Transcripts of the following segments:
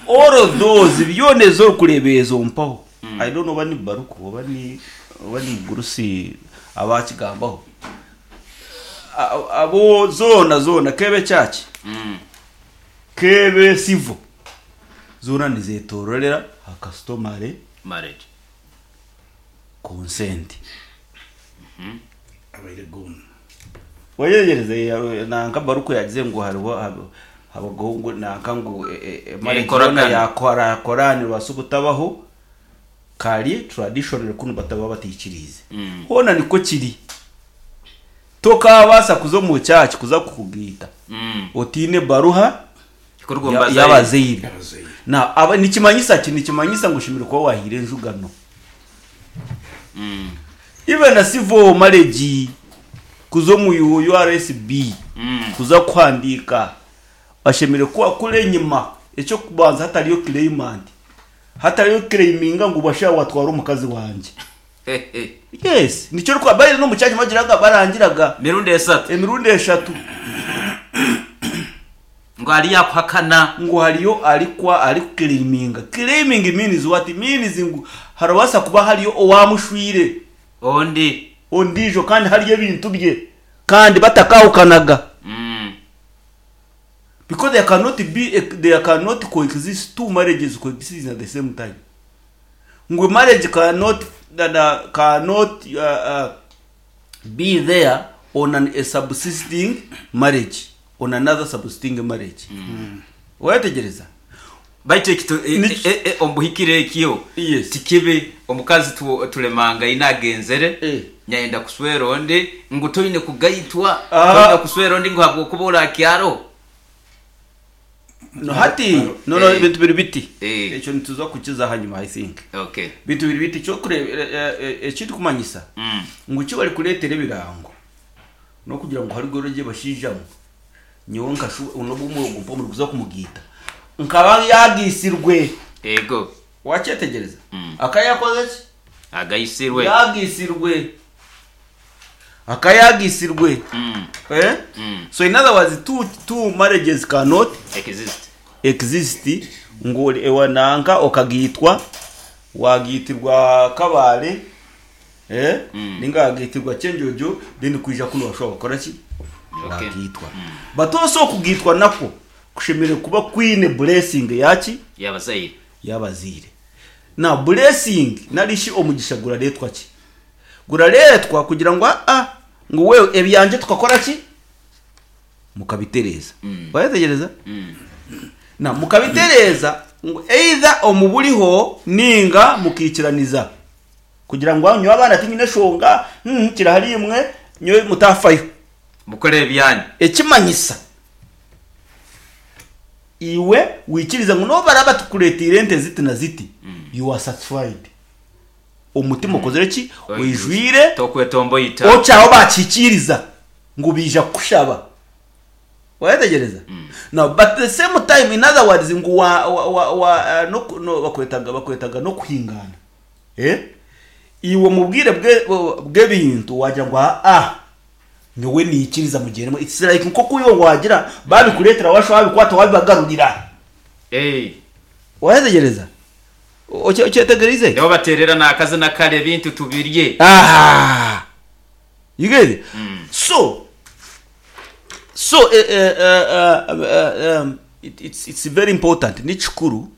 All those byona ezi orikureeba ezo mpaho I don't know oba ni Baruku oba ni oba ni Mugurusi abakigambaho abo zoona zoona kebe church kebe civil zoona nizetororera aha customary Marriage. consent. Abaire gone. Wayeyereze nanka Baruku yagize ngu hariho habaho ngu nanka ngu marriage Enkoragana. yoona yakora Korani ebaasa obutabaho kari traditionally kunu bataba bataikiriize. Hoona nikwo kiri. Tokaabaasa kuza omu church kuza kukugaita otaine ebaruha Kuruga omu bazaire. y'abazaire. Abazaire. Now, aba, nikimanyisa ki? Nikimanyisa ngu oshemereire kuba waahaire enjugano. Even na civil marriage kuza omu URSB kuza kuhandiika bashemereire kuba kuri enyima eky'okubanza hatariyo claimant hatariyo claiminga ngu basha watwara omukazi wangye. Yes, nikyo orikuba baine n'omu church bagiraga barangiraga Mirundi esatu. emirundi eshatu. Ngu hariyo akuhakana. Ngu hariyo arikwa arikuclaiminga. Claiming means what? Means ngu harabaasa kuba hariyo owaamushwire. Ondi. Ondiijo kandi hariyo ebintu bye kandi batakahukanaga. Because there cannot be there cannot coexist two marriages coexisting at the same time. Ngu marriage cannot cannot be there on an a subsisting marriage on another subsisting marriage. Wayetegyereza? Baitu eki tu- e- Niki- e- e- omu buhikire ekyo Yes. tikibi omukazi tu- tulemangaine agenzere Eh. nyayenda kuswera ondi ngu toine kugaitwa Ah. toine kuswera ondi ngu habwokuba orakyaro No hati no no Eh. ebintu biri biti. Eh. Ekyo nituza kukiza ahanyima I think. Okay. Bintu biri biti ekyokureeba ekirikumanyisa ngu eki barikureetera ebirango n'okugira ngu hariho gye bashaija mwe nyowe nkashuba n'obu ogu mpa omuri kuza kumugiita nkaba yaagiisirwe. Ego. Wakyetegyereza? Akaba yaakozire ki? Agaisirwe. Yaagiisirwe. Akaba yaagiisirwe. Eh? So in other words, two marriages cannot Exist. exist ngu ori ewa nanka okagiitwa waagiitirwa Kabale eh? Ninga waagiitirwa Kyenjojo then kwija kunu washuba wakora ki? Okay. Waagiitwa. But also okugiitwa nakwo kushemereire kuba kwine blessing yaki? Y'abazaire. Y'abazaire. Now blessing nari shi omugisha gurareetwa ki? Gurareetwa kugira ngu aa ngu wewe ebyangye tukakora ki? Mukabitereeza. Wayetegyereza? Now mukabitereeza ngu either omu buriho ninga mukaikiraniza kugira ngu nyowe abaana tinyine eshonga, kiri ahari imwe nyowe mutafayo. Mukore ebyanyu. Ekimanyisa iwe wikirize ngu n'obu baraba batukureeteire ente ziti na ziti, you are satisfied. Omutima okozire ki? Oijwire. Tokwetomboita. Okyaho bakihikiiriza ngu baija kukushaba. Wayetegyereza? Now, but the same time, in other words, ngu wa, wa, wa, wa, eh, no, no, bakwetaga, bakwetaga n'okuhingaana. Eh? Iwe omu bwire bwe, bw'ebintu wagira ngu aa, nyowe niikiriza mugyendemu. It's like nk'oku iwe waagira baabikureetera waashuba waabikwata waabibagarurira. Eh. Wayetegyereza? Okyetegyereize? Nibo bateerera n'akazina kare ebintu tubirye. Aha! You get it? So, so eh, eh, eh, eh, um, it, it's, it's very important ni kikuru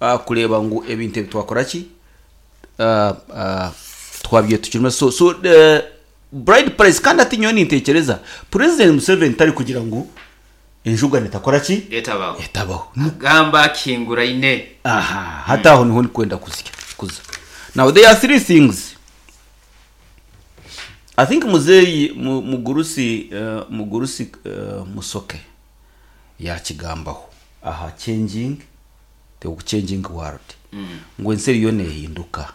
uh, kureeba ngu ebintu ebi twakora ki uh, uh, twabyetukiremu so, so uh, bride price kandi hati nyowe nintekyereza president Museveni tari kugira ngu enjugano etakora ki Etabaho. etabaho Gamba akihinguraine. Aha, hati aho niho ndikwenda kuzya kuza. Now there are three things. I think muzeeyi mu- mugurusi eh, mugurusi eh, Musoke yakigambaho aha changing the changing world. Ngu ensi eriyo nehinduka.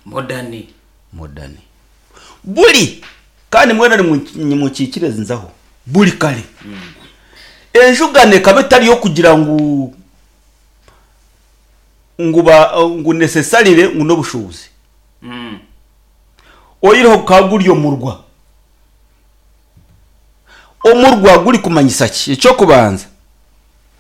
Modern. Modern. Buri kandi mwena nimukiikire nzaho buri kare. Enjugano ekaba etari y'okugira ngu ngu ba ngu necessarily ngu n'obushuubuzi. Oyihireho gukaba guri omurwa. Omurwa gurikumanyisa ki? Eky'okubanza.